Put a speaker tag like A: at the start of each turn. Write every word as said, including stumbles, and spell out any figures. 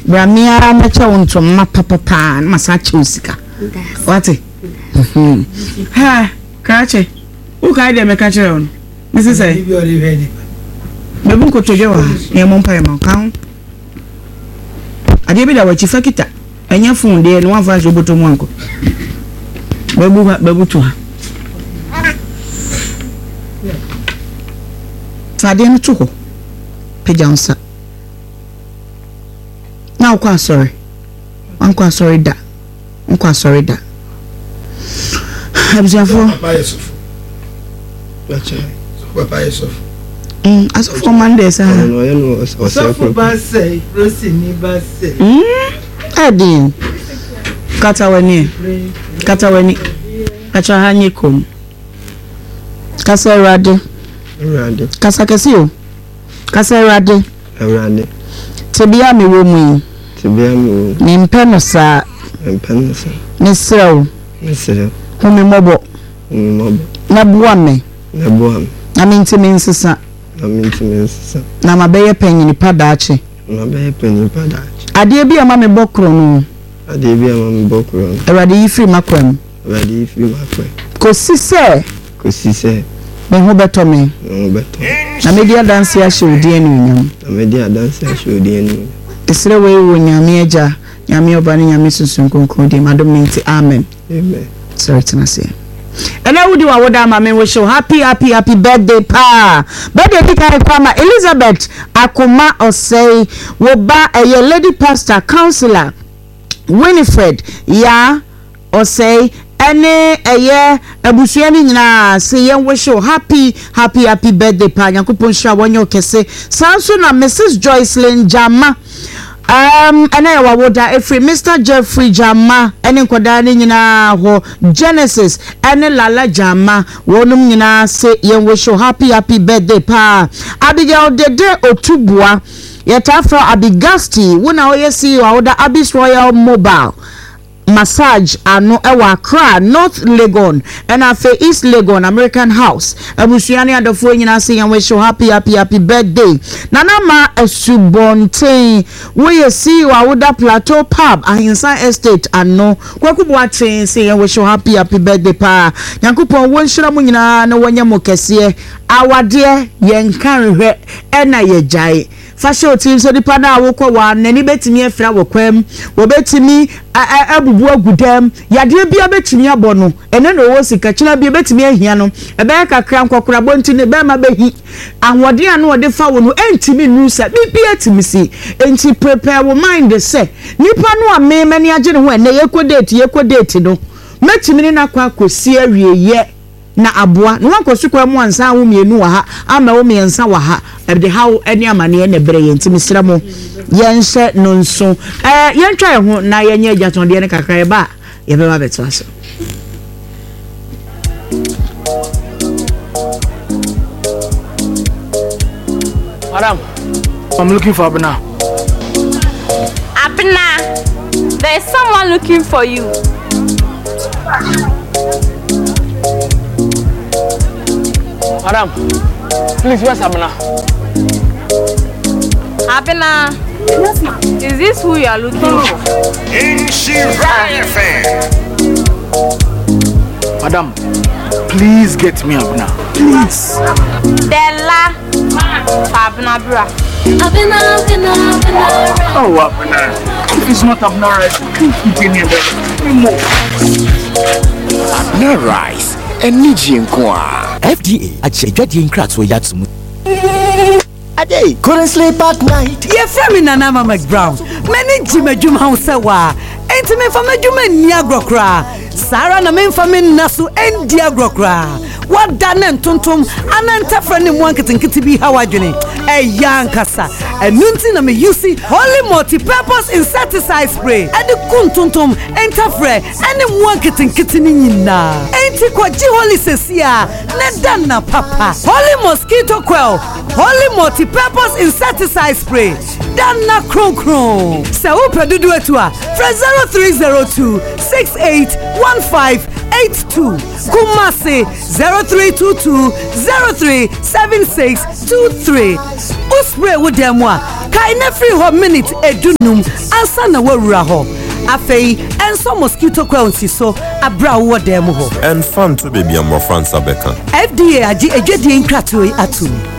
A: Bra me ara mɛkyɛ wo ntoma papapaa na masan akyɛ wo sika. Wate? Ha, krakye. Wokae deɛ meka kyerɛ wo no? Mese sɛ bɛbu nkotodwe wɔ ha na yɛmmɔ mpaeɛ ma wo. Ka ho. Adeɛ bi da w'akyi fa kita. Ɛnyɛ fon deɛ na woamfa anhyɛ wo bɔtɔ mu ankɔ. Bɛbu ha, bɛbu to ha. Fa adeɛ no to hɔ. Pagya wo nsa. Na wokɔ asɔre. Wankɔ asɔre da. Nkɔ asɔre da. Abusuafoɔ.
B: Papa yɛ sɔfo. Papa yɛ sɔfo.
A: Mm, asɔfo ɔman deɛ saa.
B: Sɔfo ba sɛ, Rosini ba sɛ.
A: Mm, ɛden. Kata w'ani. Kata w'ani. Atwa ha nye kom. Kasa Awurade.
B: Awurade.
A: Kasa kɛse o. Kasa Awurade.
B: Awurade.
A: Tebea a mewɔ mu yi.
B: Tebea mewɔ mu.
A: Mempɛ no saa.
B: Mempɛ no saa.
A: Mesrɛ wo.
B: Mesrɛ wo.
A: Hu me mmɔbɔ.
B: Hu me mmɔbɔ.
A: Na boa me.
B: Na boa me.
A: Na mentumi nsesa.
B: Na mentumi nsesa.
A: Na mabɛyɛ panyin pa daakye.
B: Na mabɛyɛ panyin pa daakye.
A: Adeɛ bi a ɛma mebɔ korɔ no.
B: Adeɛ bi a ɛma mebɔ korɔ no.
A: Awurade yi firi m'akwan mu.
B: Awurade yi firi m'akwan mu.
A: Kɔsi sɛ.
B: Kɔsi sɛ.
A: Me ho bɛtɔ me.
B: Me ho bɛtɔ me.
A: Na mɛdi adanseɛ ahyɛ wo din animuonyam.
B: Na mɛdi adanseɛ ahyɛ wo din animuonyam.
A: Mesrɛ wei wɔ Nyame Agya, Nyame Ɔba ne Nyame Sunsum Kronkron din mu, adom no nti, amen.
B: Amen.
A: Sɔre tena aseɛ. Ɛnɛ wodi w'awoda ama me wish wo happy happy happy birthday paa. Birthday di kan kɔ ama Elizabeth Akoma Ɔsɛe, wo ba ɛyɛ Lady Pastor Councillor Winifred Yaa Ɔsɛe ɛne ɛyɛ abusua no nyinaa se yɛn wish wo happy happy happy birthday paa. Nyankopɔn nhyira wo ɔnyɛ wo kɛse. Saa nso na Mrs Joycelyn Gyama um, ɛna yɛ wawoda ɛfiri Mister Jeffrey Gyama ɛne nkwadaa no nyinaa hɔ, Genesis ɛne Lala Gyama, wɔnom nyinaa se yɛn wish wo happy happy birthday paa. Abigail Dede Otuboa, yɛtaa frɛ Abigasti, wo na woyɛ C E O a woda Abis Royal Mobile Massage ano ɛwɔ Accra, North Legon ɛna afei East Legon American House. Abusua ne adɔfoɔ nyinaa se yɛn wish wo happy happy happy birthday. Nana Ma Asubɔnten, woyɛ C E O a woda Plateau Pub Ahensan Estate ano. Kwaku Boakye se yɛn wish wo happy happy birthday paa. Nyankopɔn wɔnhyira mo nyinaa na wɔnyɛ mo kɛseɛ. Awadeɛ yɛnka nhwɛ ɛna yɛgyae. Fa hyɛ wo tirim sɛ nipa no a wokɔ waa no, n'ani bɛtumi afira wɔ kwan mu, wɔbɛtumi abubu agu dam, yadeɛ biara bɛtumi abɔ no, ɛnɛ na ɔwɔ sika, kyena bi ɛbɛtumi ahia no, ɛbɛyɛ kakra nkɔkorabɔ nti ne bɛrima bɛhi, ahoɔden a na ɔde fa wo no ɛntumi nnuru sa, biribiara tumi si. Enti prepare wo mind sɛ nipa no a me m'ani agye ne ho ɛnɛ yɛkɔ date yɛkɔ date no, mɛtumi ne no akɔ akɔsi awieeɛ. Na aboa na wankɔ sukuu mu ansa awo mmienu wɔ ha ama wo mmiɛnsa wɔ ha, ɛde haw ne amaneɛ na ɛbrɛ yɛn, nti mesrɛ mo yɛnhyɛ no nso. Ɛɛ yɛntwa yɛn ho na yɛnyɛ agyatɔndeɛ no kakra, yɛba a yɛbɛba abɛtoa so.
C: Madam, I'm looking for Abena.
D: Abena, there is someone looking for you.
C: Madam, please, where's Abena?
D: Abena,
E: Yes, ma'am.
D: Is this who you are looking for?
F: Nhyira F M.
C: Madam, please get me Abena. Please.
D: Della, Abena bra.
E: Abena, Abena, Abena.
C: Oh, Abena. If it's not Abena rice, please keep any other. More.
F: Abena rice. Energy nkoa.
G: F D A akyɛ adwadie nkratoɔ yi ato mu.
H: Ade, couldn't sleep at night.
I: Ye friend Nana Mama McBrown. Many Jim Juma House wa. Enti me fa madwuma nni agorɔ koraa. Saa ara na memfa me nna so ndi agorɔ koraa. Wada ne ntontom ana ntɛfrɛ ne mmoa nketenkete bi ha w'adwene. Ɛyɛ ankasa. Ɛno nti na me use Holy Multi-Purpose Insecticide Spray. Ɛde ku ntontom, ntɛfrɛ, ɛne mmoa nketenkete ne nyinaa. Enti kɔgye Holy sɛsi a ne da na papa. Holy Mosquito Coil, Holy Multi-Purpose Insecticide Spray. Danna kronkron. Sɛ wopɛ dodo atu a, frɛ zero three zero two six eight one five eight two Kumasi zero three two two zero three seven six two three. Wo spray wo dan mu a, kae na firi hɔ minute edunum ansa na woawura hɔ. Afei ɛnsɔ mosquito coil nsi so abere a wowɔ dan mu hɔ.
J: Ɛmfa nto baabi a mmɔfra nsa bɛka.
I: F D A agye adwadie nkratoɔ yi atom.